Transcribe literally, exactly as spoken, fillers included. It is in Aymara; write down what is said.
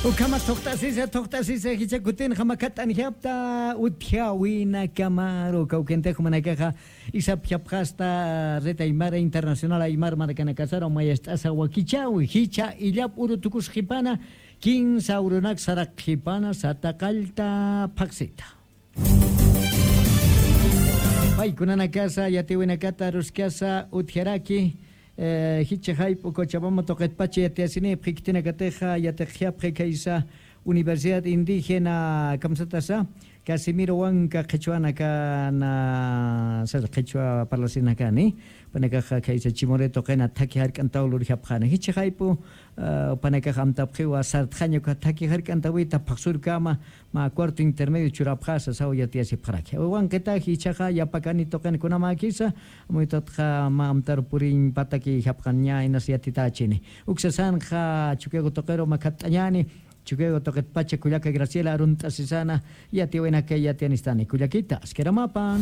Ukhama thuqt'asisa thuqt'asisa jicha kutin jamakat'an japta utjawina kamaru kawkintix jumanakaxa isap japxasta red aymara internacional aymar markanakasaru mayast'asa wakichawi jicha illap uru tukus jipana kinsa urunak saraq jipana sata qallta phaqsita. Paykunanakasa yatiwinakata ruskasa utjaraki jichha jayp'u cochabamba tuqitpacha yatiyasini pxikitinakatixa yatiqjapxi khaysa universidad indígena kamsatasa casimiro wanka qhichwanakana sasa qhichwa parlasinakani panakaxa khaysa chimuri tuqina thaki jark'antaw lurjapxani jichha jayp'u panakax amtapxiwa sartxaña uka thaki jark'antawita phaqsurkama mä cuarto intermedio churapxasa saw yatiyasipxaraki wankitaji ichhaxa yapakani tuqin kunamäkisa amuytatxa mä amtaru puriñ pataki japxaña inas yatitachini uksasanxa chukiagu tuqiru makhat'añani chukiagu tuqitpacha kullaka graciela arunt'asisana yatiwinakay yatiyanistani kullakita askiramapan.